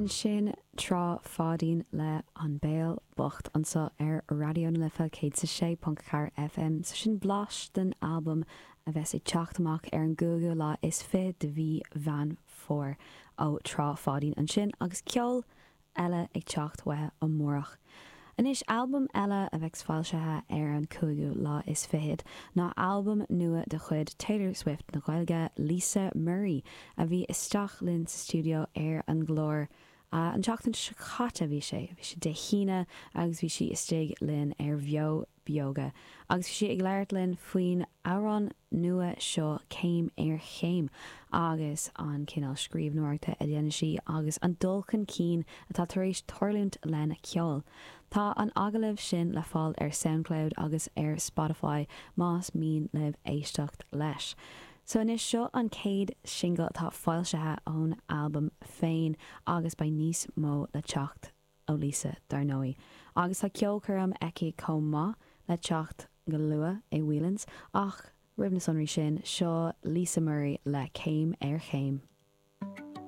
Ansin Trá Pháidín le An Béal Bocht anseo ar Raidió na Life 106.4 FM. So sin blas den albam a bheas ag teacht amach ar an gcúigiú lá is fichead de mhí Mheán Fómhair ó Trá Pháidín ansin agus ceol eile ag teacht uathu amárach. Anois, albam eile a bheas foilsithe ar an cúigiú lá is fichead ná albam nua de chuid Taylor Swift na Gaeilge, Lisa Murray, a bhí isteach linn sa stiúideo ar an gclár an tseachtain seo caite, bhí sé, bhí sé Dé hAoine agus bhí sí istigh linn ar Bheo Beoga agus bhí sí ag labhairt linn faoin amhrán nua seo Céim ar Chéim agus an cineál scríbhneoireachta a dhéanann sí agus an dul chun cinn atá tar éis tarlúint lena ceol. Tá an agallamh sin le fáil ar Soundcloud agus ar Spotify más mian libh éisteacht leis. So anois seo an chéad singil atá foilsithe ón albam féin agus beidh níos mó le teacht. ó Lisa, dar ndóigh. Agus tá ceolchoirm aici chomh maith le teacht go luath i Whelan's, ach roimh na sonraí sin, seo Lisa Murray le Céim ar Chéim.